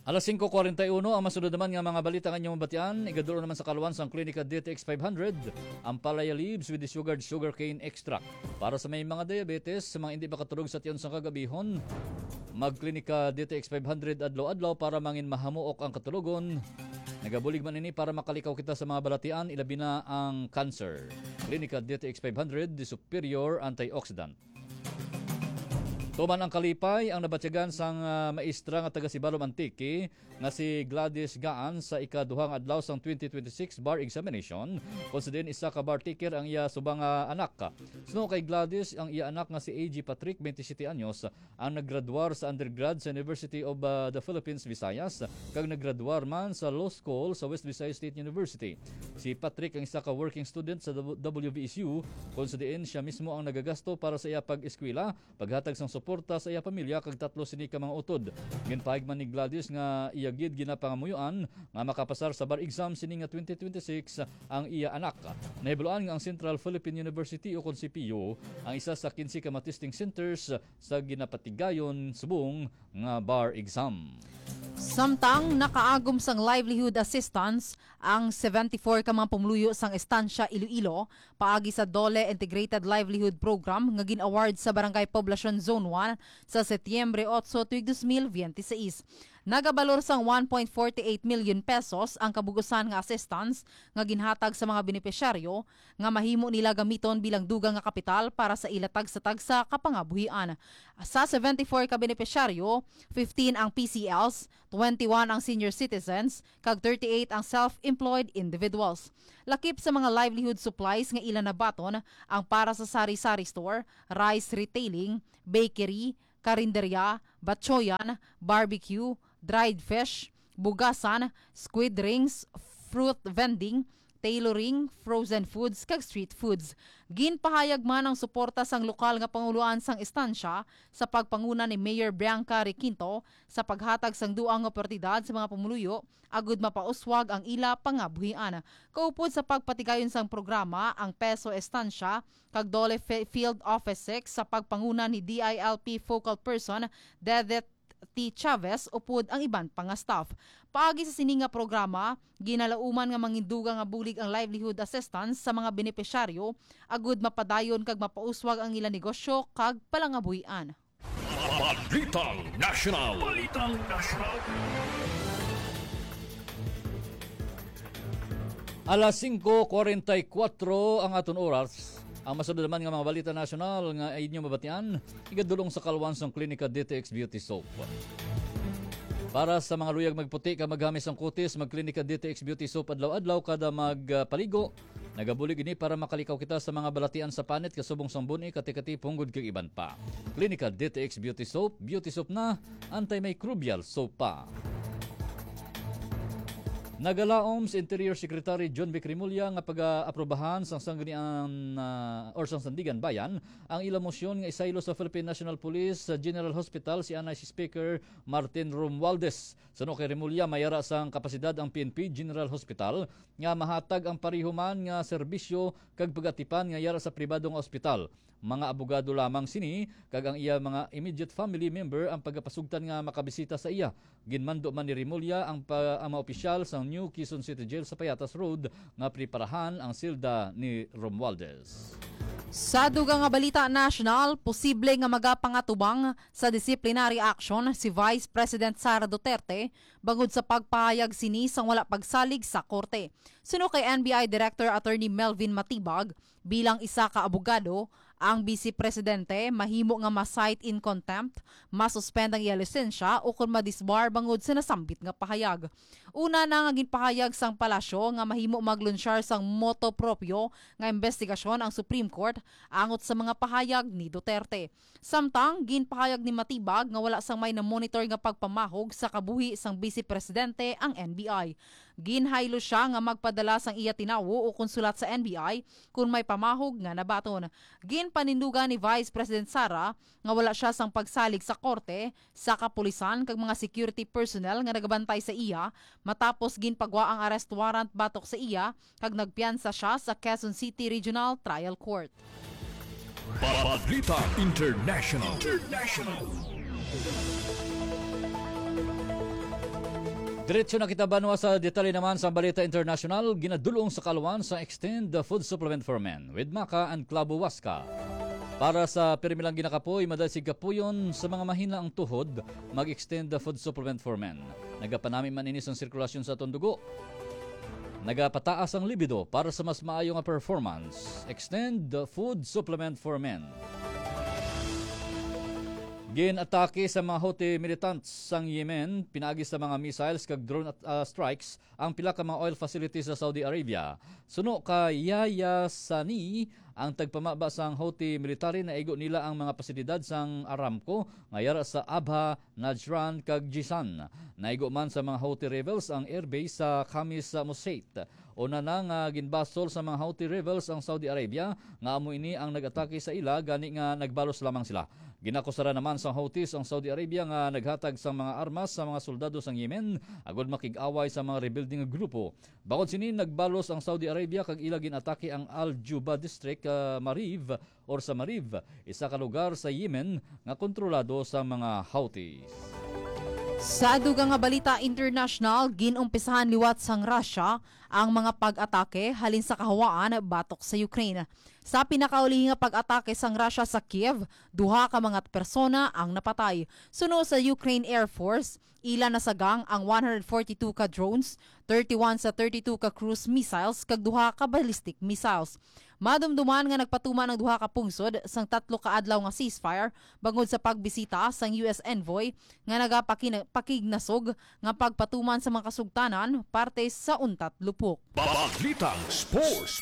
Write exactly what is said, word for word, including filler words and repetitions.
Alas singko kwarenta y uno ang masunod naman nga mga balita nga inyong mabatian. Igadulong naman sa kalwan sang Klinika D T X five hundred, ang palaya leaves with the sugared sugarcane extract. Para sa may mga diabetes, sa mga hindi makatulog sa tion sang kagabihon, magklinika D T X five hundred adlaw-adlaw para mangin mahamuok ang katulogon. Nagabulig man ini para makalikaw kita sa mga balatian, ilabi na ang cancer. Klinika D T X five hundred, the superior antioxidant. Tuman ang kalipay ang nabatyagan sang, ah, maestra nga taga Sibalom, Antique nga si Gladys Gaan sa ikaduha nga adlaw sang twenty twenty-six bar examination, kon sa diin isa ka bar taker ang iya subang nga anak. Suno kay Gladys, ang iya anak nga si A G Patrick, twenty-seven anyos, ang naggraduar sa undergrad sa University of, ah, the Philippines, Visayas, kag naggraduar man sa law school sa West Visayas State University. Si Patrick ang isa ka working student sa W V S U, kon sa diin siya mismo ang nagagasto para sa iya pag-eskwela, paghatag sang suporta sa iya pamilya kag tatlo sini ka mga utod. Ginpahayag man ni Gladys nga iya gid ginapangamuyoan nga makapasar sa bar exam sini nga twenty twenty-six ang iya anak. Nahibaluan nga ang Central Philippine University, o kon C P U, ang isa sa quince ka mga testing centers sa ginapatigayon subong nga bar exam. Samtang nakaagom sang livelihood assistance ang seventy-four ka mga pumuluyo sang Estancia Iloilo paagi sa DOLE Integrated Livelihood Program nga gin-award sa Barangay Poblacion Zone one sa Setyembre otso tuig dos mil biyente seis. Nagabalor sang one point forty eight million pesos ang kabug-usan nga assistance nga ginhatag sa mga benepisyaryo nga mahimo nila gamiton bilang dugang nga kapital para sa ila tagsa-tagsa ka pangabuhian. Sa seventy-four ka benepisyaryo, fifteen ang P C Ls, twenty-one ang senior citizens, kag thirty-eight ang self-employed individuals. Lakip sa mga livelihood supplies nga ila nabaton ang para sa sari-sari store, rice retailing, bakery, karinderya, batchoyan, barbecue, dried fish, bugasan, squid rings, fruit vending, tailoring, frozen foods, kag street foods. Ginpahayag man ang suporta sang lokal nga panguloan sang Estancia sa pagpanguna ni Mayor Bianca Requinto sa paghatag sang dugang nga oportunidad sa mga pumuluyo agud mapauswag ang ila pangabuhian. Kaupod sa pagpatigayon sang programa, ang PESO Estancia kag DOLE Fi-, Field Office six sa pagpanguna ni D I L P Focal Person Dedet T. Chavez upod ang iban pa nga staff. Paagi sa sini nga programa, ginalauman nga mangindugang nga bulig ang livelihood assistance sa mga benepisyaryo agud mapadayon kag mapauswag ang ila negosyo kag palangabuhian. Balitang National. Balitang National. Alas singko kwarenta y kuwatro ang aton oras. Ang masunod naman nga mga balita nasyonal nga inyo mabatian, igadulong sa kalwan sang Klinika D T X Beauty Soap. Para sa mga luyag magputi kag maghamis ang kutis, magklinika D T X Beauty Soap adlaw-adlaw kada magpaligo. Nagabulig ini para makalikaw kita sa mga balatian sa panit kasubong sang bun-i, katikati, punggod kag iban pa. Klinika D T X Beauty Soap, beauty soap na, antimicrobial soap pa. Nagalaom si Interior Secretary John Vic Remulla nga pag-aprobahan sang Sangguniang, ah, or sang Sandigan Bayan ang ila mosyon nga isaylo sa Philippine National Police sa General Hospital si anay si Speaker Martin Romualdez. Suno kay Remulla, may ara sang kapasidad ang P N P General Hospital nga mahatag ang pareho man nga serbisyo kag pag-atipan nga yara sa pribado nga ospital. Mga abogado lamang sini, kag ang iya mga immediate family member ang pagapasugtan nga makabisita sa iya. Ginmando man ni Remulla ang pa-, ang mga opisyal sang New Quezon City Jail sa Payatas Road nga preparahan ang selda ni Romualdez. Sa dugang nga balita nasyonal, posible nga magapangatubang sa disciplinary action si Vice President Sara Duterte bangod sa pagpahayag sini sang wala pagsalig sa korte. Suno kay N B I Director Attorney Melvin Matibag, bilang isa ka abogado, ang Bise Presidente mahimo nga ma-cite in contempt, ma-suspend ang iya lisensya, o kon ma-disbar bangod sa nasambit nga pahayag. Una na nga ginpahayag sang palasyo nga mahimo maglunsyar sang motu proprio nga imbestigasyon ang Supreme Court angot sa mga pahayag ni Duterte. Samtang ginpahayag ni Matibag nga wala sang may na-monitor nga pagpamahog sa kabuhi sang Bise Presidente ang N B I. Ginhaylo sia nga magpadala sang iya tinawo o konsulat sa N B I kon may pamahog nga nabaton. Ginpanindugan ni Vice President Sara nga wala sia sang pagsalig sa korte, sa kapulisan kag mga security personnel nga nagabantay sa iya matapos ginpagwa ang arrest warrant batok sa iya kag nagpiyansa sia sa Quezon City Regional Trial Court. Balita International. International. Diretso na kita, banwa, sa detalye naman sa balita internasyonal. Ginadulong sa kaalwan sa Extend the Food Supplement for Men with Maca and Clavo Huasca. Para sa pirmi lang ginakapoy, madasig kapuyon sa mga mahina ang tuhod, mag-Extend the Food Supplement for Men. Nagapanami man ini sang sirkulasyon sa aton dugo. Nagapataas ang libido para sa mas maayo nga performance. Extend the Food Supplement for Men. Gin-atake sa mga Houthi militants sang Yemen pinaagi sa mga missiles kag drone at, ah, strikes ang pila ka mga oil facilities sa Saudi Arabia. Suno kay Yahya Sani, ang tagpamaba sang Houthi military, naigo nila ang mga pasilidad sang Aramco nga yara sa Abha, Najran kag Jizan. Naigo man sa mga Houthi rebels ang airbase sa Khamis Mushait. Una na nga ginbasol sa mga Houthi rebels ang Saudi Arabia, nga amo ini ang nag-atake sa ila, gani nga nagbalos lamang sila. Ginakusara naman sang Houthis ang Saudi Arabia nga naghatag sang mga armas sa mga soldado sang Yemen agud makig-away sa mga rebelde nga grupo. Bangod sini, nagbalos ang Saudi Arabia kag ila gin-atake ang Al Juba District, ah, Mariv, or sa Mariv, isa ka lugar sa Yemen nga kontrolado sa mga Houthis. Sa dugang nga balita international, gin-umpisahan liwat sang Russia ang mga pag-atake halin sa kahawaan batok sa Ukraine. Sa pinakaulihi nga pag-atake sang Russia sa Kiev, duha ka mga persona ang napatay. Suno sa Ukraine Air Force, ila nasagang ang one hundred forty-two ka drones, thirty-one sa thirty-two ka cruise missiles, kag duha ka ballistic missiles. Madumduman nga nagpatuman ang duha ka pungsod sang tatlo ka adlaw nga ceasefire bangod sa pagbisita sang U S envoy nga nagapakina-, pakignasog nga pagpatuman sa mga kasugtanan parte sa untat lupok. Balitang Sports.